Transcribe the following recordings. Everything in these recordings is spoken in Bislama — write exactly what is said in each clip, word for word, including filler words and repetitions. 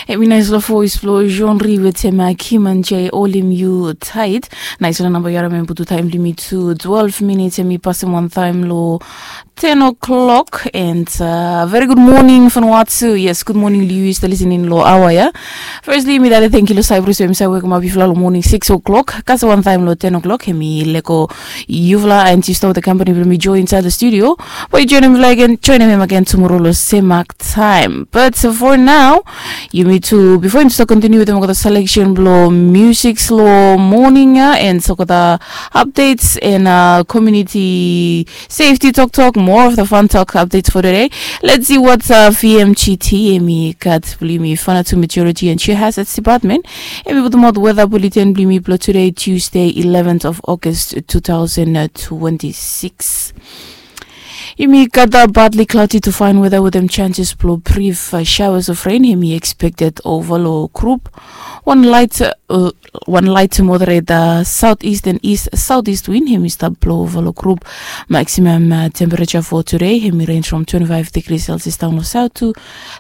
Hemi naisfala voes blong Jean Ri wetem Kiman J, Holim Yu Tait. Naisfala namba yu harim, hemi putum taem blong yumi tu twelve minits, hemi pasem wantaem long ten o'clock. And uh, very good morning from Watsu. Yes, good morning long yu, yu stap listening long aoa ya. Firstly, mi dati thank you long Cyprus, hemi save wake up before long morning six o'clock. Kasem wantaem long ten o'clock, hemi lego yufala and yu stap wetem company blong mi Joe inside the studio. But yu joinem again, joinem again tomorrow long same mark time. But for now, yumi tu, before yumi start continue wetem olgeta selection blong music long morning ya, and olgeta updates and uh, community safety talk talk, more of the fun talk updates for today. Let's see what uh, V M G T hemi gat blong yumi. Fana to meteorology and geo hazards department, hemi putum out weather bulletin blong yumi blong today, Tuesday, eleventh of August, two thousand twenty-six. Yumi gat a partly cloudy to fine weather wetem chances blong brief uh, showers of rain hemi expected ova long group. Wan light uh, wan light to moderate uh, southeast and east southeast wind hemi stap blow ova long group. Maximum uh, temperature for today hemi range from twenty-five degrees Celsius down long south to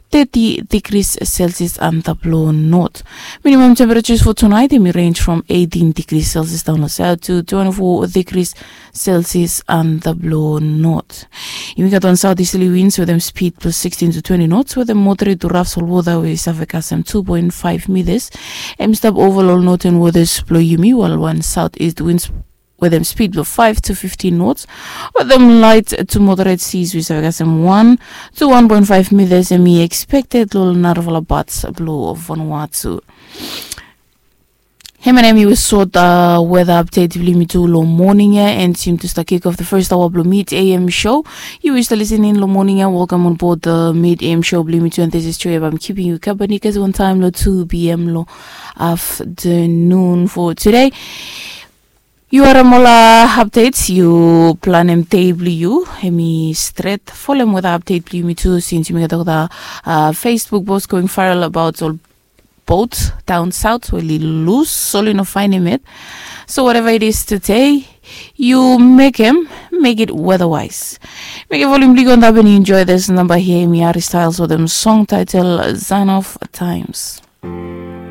thirty degrees Celsius antap long north. Minimum temperatures for tonight hemi range from eighteen degrees Celsius down long south to twenty-four degrees Celsius antap long north. Yumi gat wan southeasterly winds wetem speed blong sixteen to twenty knots wetem moderate to rough solwota we i save kasem two point five meters. Hemi stap ova long northern waters blong yumi, while wan southeast winds wetem speed blong five to fifteen knots wetem light to moderate seas we i save kasem one to one point five meters hemi expected long narafala parts blong Vanuatu. Hemia nao hemi sot uh, weather update blong yumi tu long morning ya, and yumi tu start kick off the first hour blong Mid A M show. Yu we stap listening long morning ya, welcome on board the Mid A M show blong yumi tu, and this is Joy. I'm keeping you company kasem wantaem long two P M long afternoon for today. Yu harim ol uh, updates, yu planem dei blong yu hemi stret. Folem weather update blong yumi tu, since yumi gat olgeta uh, Facebook post going viral about ol boat down south we oli lus, oli no faenem yet. So whatever it is today, yu mekem, make it weather-wise. Mekem volume blong yu go antap and enjoy this number here. Hemi Harry Styles wetem song title Sign of Times.